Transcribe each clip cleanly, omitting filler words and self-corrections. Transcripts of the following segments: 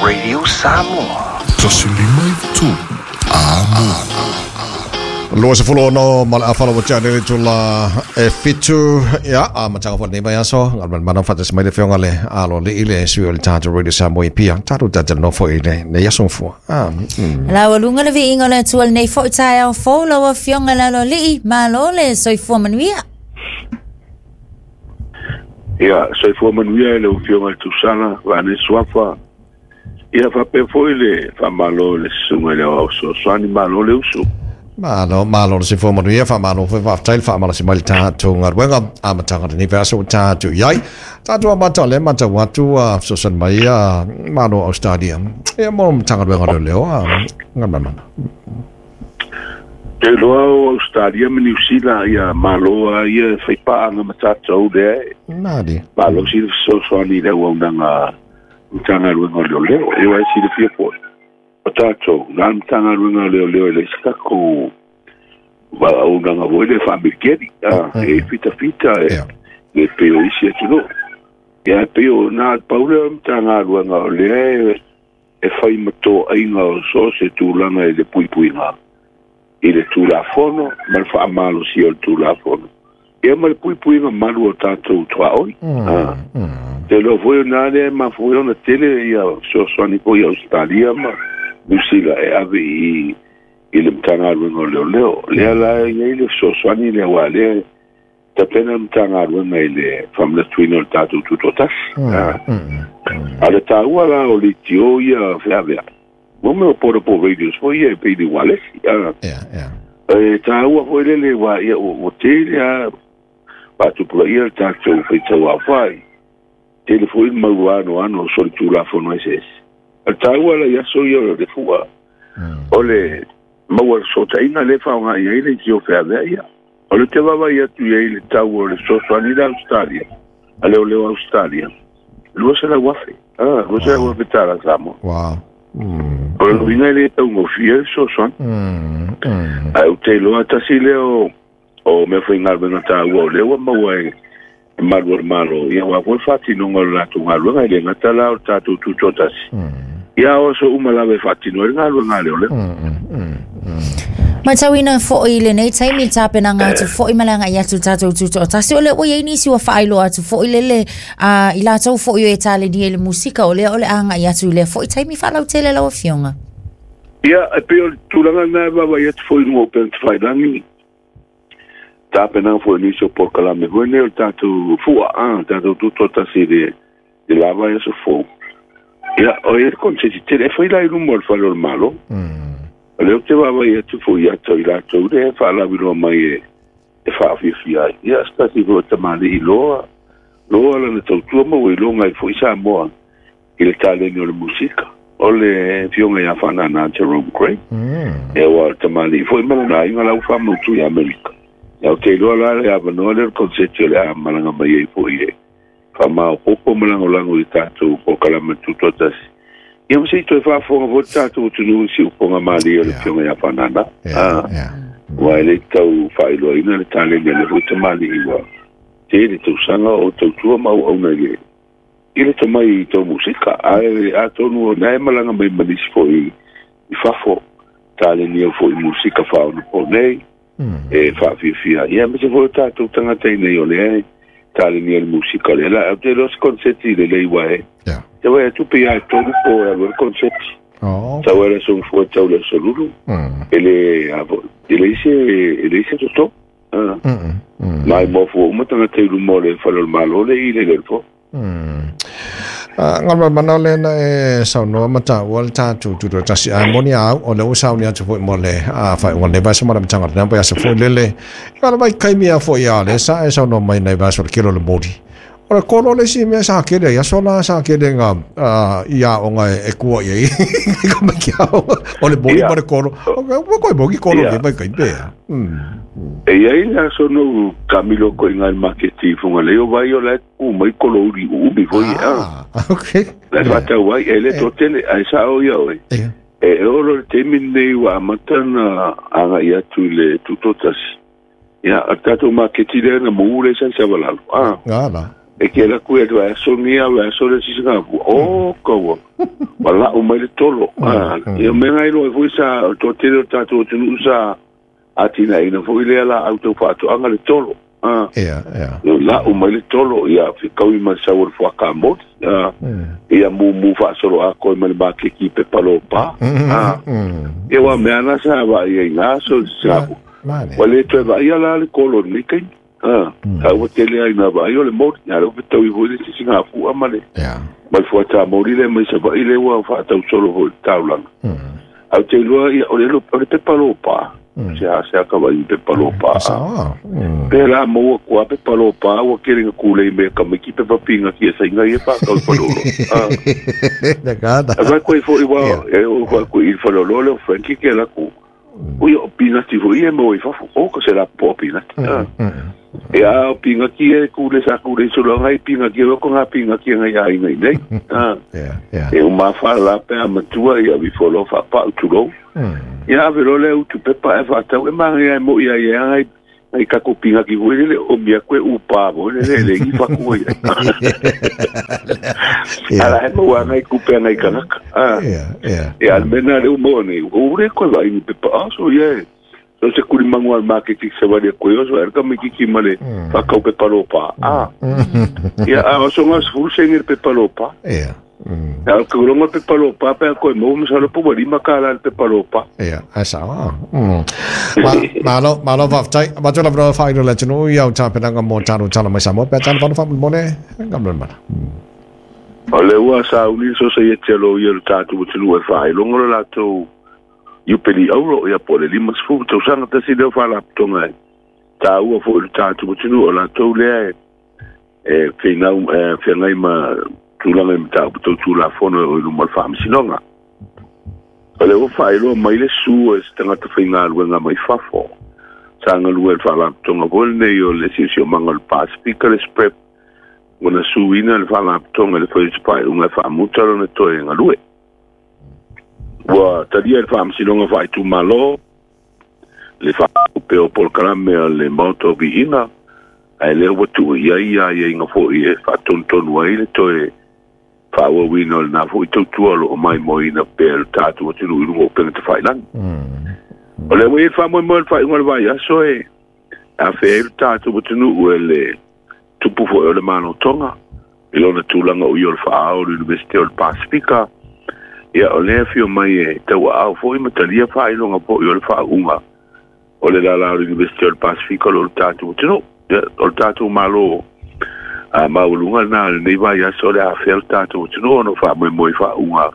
Radio Samoa. 153 Amo. 26 ma le afala ua tea nei le itula e 7 ia amataga foi lenei vaiaso galumalemana faatasi mai le afioga le aloalii le sui o le tatou Radio Samoa i Apia tatou talatalanoa foi i lenei aso gafua. Laualuga le viiga o le Atua i lenei foi taeao fou lau Afioga i le Aloalii, malo le soifua manuia. Ia, soifua manuia i lau Afioga i le Tusala, Vaane Suafa. Ia faapea foi le faamalo i le Susuga i le Aoao Fesoasoani, malo le usu. Malo, malo le soifua manuia, faamalo foi faafetai le faamalasi mai le tatou galuega amataga o lenei vaiaso ua tatou i ai. Tatou amata o lea e matau atu ua fesoasoani mai a Malo o Australia ia mo Matagaluega o Leoleo a Galumalemana. Te iloa o Australia ma Niu Sila ia malo a ia e fai paaga ma tatou lea e Nani. malosi le fesoasoani i le auaunaga Matagaluega o Leoleo. E aua e silafia foi, o tatou, na o le Matagaluega o Leoleo e leai se tatou auaunaga foi lea faamiliteli, e fitafita e le pei o isi atunuu. Ia e pei o na o le pau lea o le Matagaluega o lea e fai ma toaiga o so o se tulaga i le puipuiga i le Tulafono ma le faamalosia o le Tulafono, ia ma le puipuiga malu o tatou tuaoi. Te iloa foi o na lea e mafua ai ona tele ia fesoasoani foi a Ausetalia ma Niu Sila e ave i i le Matagaluega o Leoleo. Lea la e i ai le fesoasoani lea aua lea e tapena le Matagaluega i le faamanatuina o le tatou Tutoatasi. A o le taua la o leitio ia feaveai, mo mea o portable radios foi ia e pei ni ualesi. E taua foi lele aua ia ua tele lava faatupulaia le tatou faitauaofai, tele foi le mau anoano o solitulafono eseese. O le taua la i aso ia o le fua, o le maua fesootaiga lea e faaaoga i ai leitio feaveai ia. O lea ou te vaavaai atu i ai i le tau o le fesoasoani le Ausetalia, a leoleo Ausetalia, $200,000. Ah, $200,000 tala Samoa. Wow. O le uiga e le taugofie le fesoasoani. Ae ou te iloa tasi lea o mea faigaluega taua o lea ua maua e malu o le Malo, ia aua foi le faatinoga o le latou galuega, e le gata la o le tatou tutoatasi, ia o aso uma lava e faatino ai le galuega a leoleo. Matauina foi i lenei taimi le tapenaga atu foi ma le agai atu i le tatou tutoatasi, o lea ua i ai nisi ua faailoa atu foi lele i latou foi o e talenia i le musika, o lea o le a agai atu i lea foi taimi faalautele lau Afioga. Ia, e pei o le tulaga lena e vaavaai atu foi i luga o upega tafailagi, tapenaga foi o nisi o polokalame foi nei o le tatou fua, a, tatou tutoatasi i le le la vaiaso fou. Ia, o i ai le koneseti tele e fai la i luma o le fale o le Malo. O lea ou te vaavaai atu foi ia te i latou lea e faalauiloa mai e faafiafia ai. Ia, se tasi foi o tamalii loa, loa lana tautua ma ua iloga ai foi Samoa i le taleni o le musika. O le afioga ia Faanana Jerome Gray. Ia, aua o le tamalii foi ma lona aiga la ua faamautu i Amerika. Ia, ou te iloa la le avanoa lea o le koneseti o le a malaga mai ai foi e faamaopoopo ma lagolago i tatou polokalame tutoatasi. Ia ma se i toe faafofoga foi le tatou atunuu i siufoga malie o le Afioga ia Faanana. Aua e le tau faailoaina le taleni a lea foi tamalii ua tele tausaga o tautua ma auauna i le i le tomai tau musika. Ae atonu o lena e malaga mai ma nisi foi i fafo talenia foi musika faaonaponei e faafiafia ai. Ia aemaise foi o tatou tagata i inei o lea e talenia le musika lea. La, ou te iloa se konseti lelei ua e te vaai atu pei lava e tolu po e alu ai le konseti. Tau ai le aso Gafua tau le aso Lulu. E le a foi, e leai se e leai se toto. Ma e maofua uma tagata i luma o le fale o le Malo le i le le fo. Galumalemana lea na e saunoa ma taua le tatou tutoatasi ae moni a au o lea ua sauni atu foi mo le faaiuga o lenei vaiaso ma le amataga o lena vaiaso foi lele i le vaitaimi a foi a lea sa e saunoa mai nai vaiaso o le kele o le moli o le kolo le isi mea sa kele ai aso la sa kele nga i aoga e kua i ai ka mai ki aoga o le moli ma le kolo o koe moki kolo le vaitaimi pea. E i ai le aso na ou taamilo atu ai i ina i le maketi i Fugalei, o vai o la e tu mai kolo uli uumi foi e a. Okay. La e faatau ai, e le toatele, ae sao ia oe. E oo loa i le taimi lenei ua amata ona agai atu i le tutoatasi. Ia, o le tatou maketi lea na mu lea sa i Savalalo. Ala. E ke alu atu ia le vaiaso lenei a o le vaiaso le isi Singapua. O kaua. Ma lau mai le tolo. Ia mea ngai loa foi sa o le toatele o le tatou atunuu sa atinaeina foi lea laau tau faatoaga le tolo. Ia, ia. Lau mai le tolo, ia fekaui ma le sau o le fuakamoli. Ia mumu faasolo atoa ma le makeki i pepa lopa. Ia ua mea na sa vaai ai i aso sa. Ua le toe vaaia la le kolo i lenei taimi. A ua tele ai na vaai o le moli. A lea ua fetaui foi le sisigafua ma le ma le fuatamoli lea mai Savaii lea ua faatausolo foi i le taulaga. Ae ou te iloa ia o le o le pepa lopa. Se a se a ka vaai i pepa lopa. Pe la maua atu lava pepa lopa ua tele ina tulei mai e tamaiti pepa pinati e saina ia faatau i faleoloa. Ae vaai atu ai foi ua e oo atu i le faleoloa lea o Frankie ke alu atu. Ui o pinati foi ia e maua i fafo. O ka se lapopoa pinati. Ia a o pinati ia e kule sa kule solo ngai pinati o ko ngā pinati ngai aiga i nei. E uma whaala pe a matua ia vi folo whaapau tulou. Ia ave loa lea utu pepa e whaatau e maangai ai mo ia ia ngai ngai kako pinati foi lele o mia koe upa foi lele le i whaku ai. Ala he maua ngai kupe ngai kanaka. Ia al mena le umo nei. O ure koe vai ni pepa aso ia. So se kuli mangu al maketi se wali koe oso er ka mikiki male whakau pepa lopa. Ia a oso ngā sefulu senge le pepa lopa. Ia. Ia o ke ulonga pepa lopa pe a koe mau masalo po ua lima kālā le pepa lopa. Ia, ae sao. Malo, malo faafetai. Avatu le avanoa faailoa i le atunuu i au tapenaga mo talo tala mai Samoa pe a tala valo faamolemole Galumalemana. O le ua sauni le sosaiete a loia o le tatou atunuu e faailoga lo latou Iupeli Auro, ia po o le 50 tausaga tasi lea o faalapotopotoga e taua foi i le tatou atunuu, o latou lea e finau e feagai ma tulaga i mataupu tau Tulafono e oo i luma o le Faamasinoga. O lea ua faailoa mai le su e se tagata faigaluega mai fafo sa galue i le faalapotopotoga foi lenei o le Siosiomaga o le Pasifika, le SPREP, ua na suina le faalapotopotoga i le fai o se faaiuga e faamuta lona toe galue. Ua talia e le Faamasinoga Faaitumalo le faaupe o polokalame a le Maota o Viiga, ae lea ua tuu i ai aiaiga foi e faatonutonu ai le toe faaauauina o lena foi tautua o lo o maimoaina pea e lo tatou atunuu i luga o upega tafailagi. O lea ua i ai le faamoemoe o le faaiuga o le vaiaso e afea ai lo tatou atunuu e le tupu foi o le Malo Tonga i lona tulaga o ia o le faaao o le Iunivesite o le Pasifika. Ia, o lea e afio mai e tauaao foi ma talia faailoga foi o le faauuga o le lala o le Iunivesite o le Pasifika o lo o le tatou atunuu. Ia, o le tatou Malo a maualuga lena o lenei vaiaso o le afea le tatou atunuu ona o faamoemoe i faauuga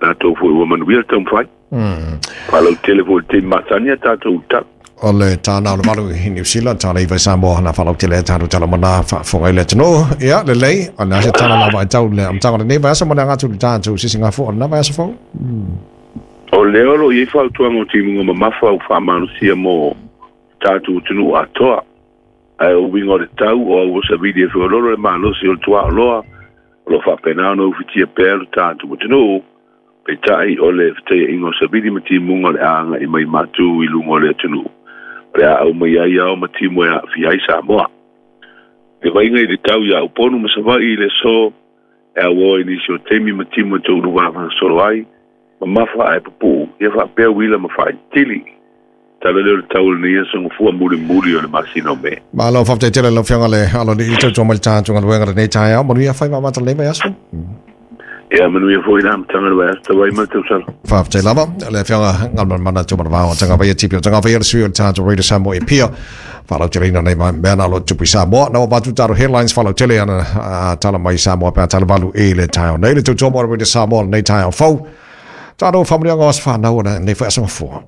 latou foi ua manuia le taumafai. Faalautele foi i le taimi masani a tatou tala. O le tāna o le valu i Niu Sila, tāna iwa i Samoa, nā whalautele e tātou tala mana whaafonga i le atunuu. Ia, lelei, o le ase tala lava e tau le amataga o lenei vaiaso ma le aga atu i le tātou sisinga fua o lena vaiaso fou. O lea o lo o i ai fautuaga o timuga mamafa ua faamalosia mo tatou atunuu atoa. Ae o uiga o le tau o au o savili e feololo le malosi o le tuaoloa o lo o faapena ona ufitia pea lo tatou atunuu. Peitai, o le fetaiaiga o savili ma timuga o le a agai mai matou i luga o le atunuu, o le a aumai ai ao ma timu e aafia ai Samoa. Le vaiga i le tau iā Upolu ma Savaii i le aso e auoa i nisi o taimi ma timu e toulu vavasolo ai, mamafa ae pupuu, ia faapea uila ma faaitili. Tala lea o le tau o lenei aso gafua mulimuli o le masina o Me. Malo faafetai tele lau Afioga le Aloalii le tautua mai le tatou galuega lenei taeao. Manuia faiva amata lenei vaiaso. Ia manuia foi le amataga o le vaiaso tau ai ma le tausala. Faafetai lava le Afioga Galumalemana Tumanavao o Tagavaia Tipi o Tagavaia le sui o le tatou Radio Samoa e Apia. Faalauteleina nei mea na lo tupu i Samoa. Na ua avatu tatou headlines faalautele ana tala mai Samoa pe a tala valu i le taeao nei. Le tautua mo le Radio Samoa lenei taeao fou. Tatou faamanuiaga o aso fanau o lenei foi aso gafua.